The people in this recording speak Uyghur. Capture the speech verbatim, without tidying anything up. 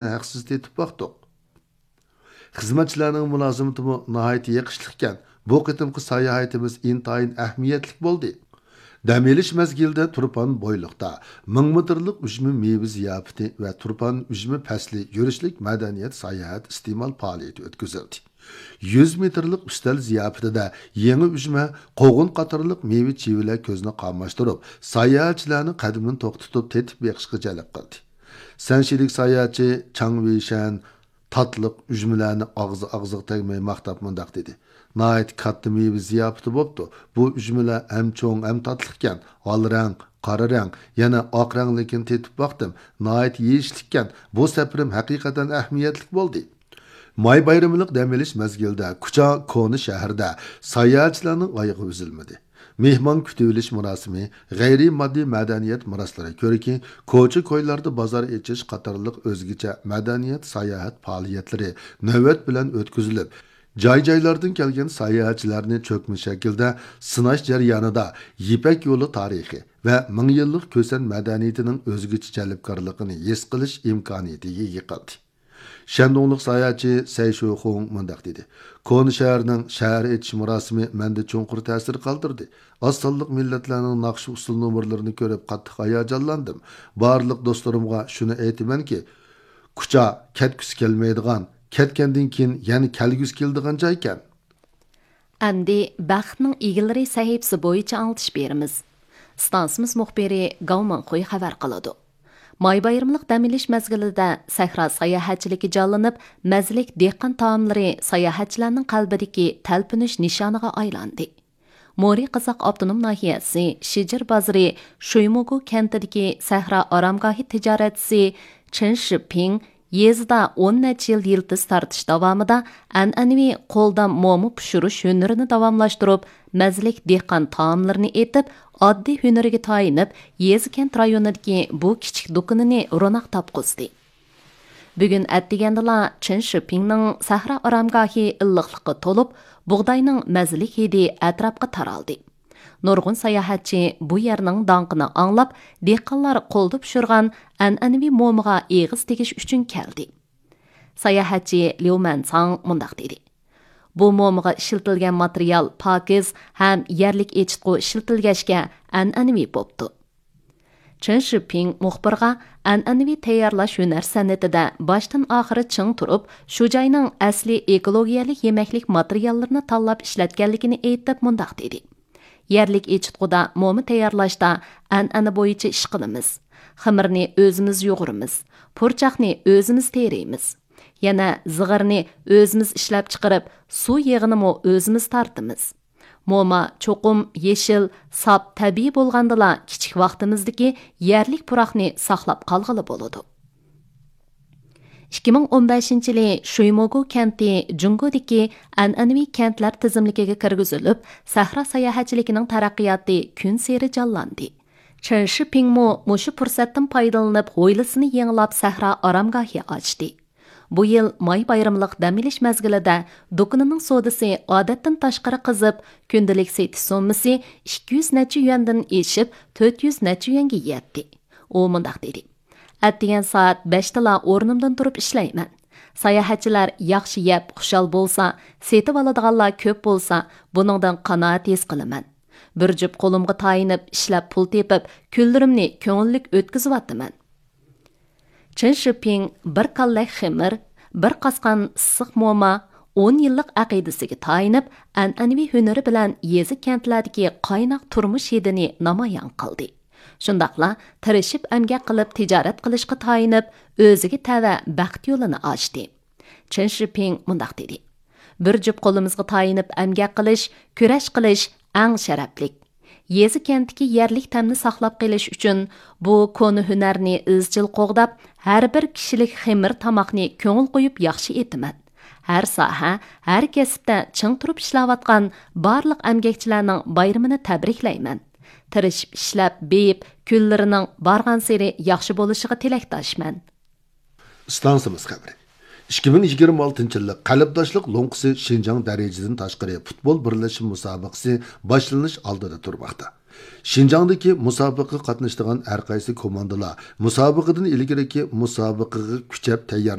ھەقسىز تېتىپ باقتۇق. خىزمەتچىلەرنىڭ مۇلازىمىتىمۇ ناھايىتى يېقىشلىقكەن. بۇ قېتىمقى ساياھىتىمىز ئىنتايىن ئەھمىيەتلىك بولدى. دەم ئېلىش مەزگىلىدە تۇرپان بويلۇقتا مىڭ مېتىرلىق ئۈجمە مېۋە زىياپىتى ۋە تۇرپان ئۈجمە پەسلى يۈرۈشلۈك مەدەنىيەت ساياھەت ئىستېمال پائالىيىتى ئۆتكۈزۈلدى. يۈز مېتىرلىق ئۈستەل زىياپىتىدە يېڭى ئۈجمە، قوغۇن قاتارلىق مېۋە چىۋىلەر كۆزنى قاماشتۇرۇپ، ساياھەتچىلەرنى قەدىمىنى توختىتىپ تېتىپ بېقىشقا جەلپ قىلدى. سەنشىلىك ساياھەتچى چاڭ ۋېيشەن تاتلىق ئۈجمىلەرنى ئاغزى ئاغزىغا تەگمەي ماختاپ مۇنداق دېدى: «ناھايىتى كاتتا مېۋە زىياپىتى بوپتۇ. بۇ ئۈجمىلەر ھەم چوڭ، ھەم تاتلىقكەن. ئال رەڭ، قارا رەڭ، يەنە ئاق رەڭلىكىنى تېتىپ باقتىم. ناھايىتى يېيىشلىككەن. بۇ سەپىرىم ھەقىقەتەن ئەھمىيەتلىك بولدى.» ماي بايرىملىق دەم ئېلىش مەزگىلىدە كۇچا كونا شەھىرىدە ساياھەتچىلەرنىڭ ئايىغى ئۈزۈلمىدى. مېھمان كۈتۈۋېلىش مۇراسىمى، غەيرىي ماددىي مەدەنىيەت مۇراسلىرى كۆرىكى، كوچا-كويلاردا بازار ئېچىش قاتارلىق ئۆزگىچە مەدەنىيەت ساياھەت پائالىيەتلىرى نۆۋەت بىلەن ئۆتكۈزۈلۈپ، جاي-جايلاردىن كەلگەن ساياھەتچىلەرنى چۆكمە شەكىلدە سىناش جەريانىدا يىپەك يولى تارىخى ۋە مىڭ يىللىق كۈسەن مەدەنىيىتىنىڭ ئۆزگىچە جەلپكارلىقىنى ھېس قىلىش ئىمكانىيىتىگە ئىگە قىلدى. شەندۇڭلۇق ساياھەتچى سەي شۇخۇڭ مۇنداق دېدى: «كونا شەھەرنىڭ شەھەر ئېچىش مۇراسىمى مەندە چوڭقۇر تەسىر قالدۇردى. ئاز سانلىق مىللەتلەرنىڭ ناخشا-ئۇسسۇل نومۇرلىرىنى كۆرۈپ قاتتىق ھاياجانلاندىم. بارلىق دوستلىرىمغا شۇنى ئېيتىمەنكى، كۇچا كەتكۈسى كەلمەيدىغان، كەتكەندىن كېيىن يەنە كەلگۈسى كېلىدىغان جايكەن.» ئەمدى بەختنىڭ ئىگىلىرى سەھىپىسى بويىچە ئاڭلىتىش بېرىمىز. ئىستانسىمىز مۇخبىرى گاۋ مىڭخۇي خەۋەر قىلىدۇ. ماي بايرىملىق دەم ئېلىش مەزگىلىدە سەھرا ساياھەتچىلىكى جانلىنىپ، مەززىلىك دېھقان تائاملىرى ساياھەتچىلەرنىڭ قەلبىدىكى تەلپۈنۈش نىشانىغا ئايلاندى. مورى قىزاق ئاپتونوم ناھىيەسى شىجىر بازىرى شۇيموگۇ كەنتىدىكى سەھرا ئارامگاھى تىجارەتچىسى چېن شىپىڭ يېزىدا ئون نەچچە يىل يىلتىز تارتىش داۋامىدا ئەنئەنىۋى قولدا موما پىشۇرۇش ھۈنىرىنى داۋاملاشتۇرۇپ، مەززىلىك دېھقان تائاملىرىنى ئېتىپ، ئاددىي ھۈنىرىگە تايىنىپ، يېزا كەنت رايونىدىكى بۇ كىچىك دۇكىنىنى روناق تاپقۇزدى. بۈگۈن ئەتىگەندىلا چېن شىپىڭنىڭ سەھرا ئارامگاھى ئىللىقلىققا تولۇپ، بۇغداينىڭ مەززىلىك ھىدى ئەتراپقا تارالدى. نۇرغۇن ساياھەتچى بۇ يەرنىڭ داڭقىنى ئاڭلاپ، دېھقانلار قولدا پىشۇرغان ئەنئەنىۋى مومىغا ئېغىز تېگىش ئۈچۈن كەلدى. ساياھەتچى ليۇ مەنساڭ مۇنداق دېدى: «بۇ مومىغا ئىشلىتىلگەن ماتېرىيال پاكىز ھەم يەرلىك ئېچىتقۇ ئىشلىتىلگەچكە ئەنئەنىۋى بوپتۇ.» چېن شىپىڭ مۇخبىرغا ئەنئەنىۋى تەييارلاش ھۈنەر سەنئىتىدە باشتىن ئاخىرى چىڭ تۇرۇپ، شۇ جاينىڭ ئەسلىي ئېكولوگىيەلىك يېمەكلىك ماتېرىياللىرىنى تاللاپ ئىشلەتكەنلىكىنى ئېيتىپ مۇنداق دېدى: «يەرلىك ئېچىتقۇدا موما تەييارلاشتا ئەنئەنە بويىچە ئىش قىلىمىز. خېمىرنى ئۆزىمىز يۇغۇرىمىز. پۇرچاقنى ئۆزىمىز تېرىيمىز. يەنە زىغىرنى ئۆزىمىز ئىشلەپچىقىرىپ، سۇ يېغىنىمۇ ئۆزىمىز تارتىمىز. موما چوقۇم يېشىل، ساپ، تەبىئىي بولغاندىلا، كىچىك ۋاقتىمىزدىكى يەرلىك پۇراقنى ساقلاپ قالغىلى بولىدۇ.» ئىككى مىڭ ئون بەشىنچى يىلى شۇيموگۇ كەنتى جۇڭگودىكى ئەنئەنىۋى كەنتلەر تىزىملىكىگە كىرگۈزۈلۈپ، سەھرا ساياھەتچىلىكىنىڭ تەرەققىياتى كۈنسېرى جانلاندى. چېن شىپىڭمۇ مۇشۇ پۇرسەتتىن پايدىلىنىپ، ھويلىسىنى يېڭىلاپ، سەھرا ئارامگاھى ئاچتى. بۇ يىل ماي بايرىملىق دەم ئېلىش مەزگىلىدە دۇكىنىنىڭ سودىسى ئادەتتىن تاشقىرى قىزىپ، كۈندىلىك سېتىش سوممىسى ئىككى يۈز نەچچە يۈەندىن ئېشىپ، تۆت يۈز نەچچە يۈەنگە يەتتى. ئۇ مۇنداق دېدى: «ئەتىگەن سائەت بەشتىلا ئورنۇمدىن تۇرۇپ ئىشلەيمەن. ساياھەتچىلەر ياخشى يەپ، خۇشال بولسا، سېتىۋالىدىغانلار كۆپ بولسا، بۇنىڭدىن قانائەت ھېس قىلىمەن. بىر جۈپ قولۇمغا تايىنىپ، ئىشلەپ پۇل تېپىپ، كۈنلىرىمنى كۆڭۈللۈك ئۆتكۈزۈۋاتىمەن.» چېن شىپىڭ بىر كاللەك خېمىر، بىر قاسقان ئىسسىق موما، ئون يىللىق ئەقىدىسىگە تايىنىپ، ئەنئەنىۋى ھۈنىرى بىلەن يېزا كەنتلەردىكى قايناق تۇرمۇش ھىدىنى نامايان قىلدى. شۇنداقلا تىرىشىپ ئەمگەك قىلىپ تىجارەت قىلىشقا تايىنىپ، ئۆزىگە تەۋە بەخت يولىنى ئاچتى. چېن شىپىڭ مۇنداق دېدى: «بىر جۈپ قولىمىزغا تايىنىپ ئەمگەك قىلىش، كۈرەش قىلىش ئەڭ شەرەپلىك. يېزا كەنتتىكى يەرلىك تەمنى ساقلاپ قېلىش ئۈچۈن بۇ كونا ھۈنەرنى ئىزچىل قوغداپ، ھەر بىر كىشىلىك خېمىر تاماقنى كۆڭۈل قويۇپ ياخشى ئېتىمەن. ھەر ساھە، ھەر كەسىپتە چىڭ تۇرۇپ ئىشلەۋاتقان بارلىق ئەمگەكچىلەرنىڭ بايرىمىنى تەبرىكلەيمەن. تىرىشىپ ئىشلەپ، بېيىپ، كۈنلىرىنىڭ بارغانسېرى ياخشى بولۇشىغا تىلەكداشمەن.» ئىستانسىمىز خەۋىرى. ئىككى مىڭ يىگىرمە ئالتىنچى يىللىق قەلبداشلىق لوڭقىسى شىنجاڭ دەرىجىدىن تاشقىرى پۇتبول بىرلەشمە مۇسابىقىسى باشلىنىش ئالدىدا تۇرماقتا. شىنجاڭدىكى مۇسابىقىگە قاتنىشىدىغان ھەر قايسى كوماندىلار مۇسابىقىدىن ئىلگىرىكى مۇسابىقىگە كۈچەپ تەييارلىق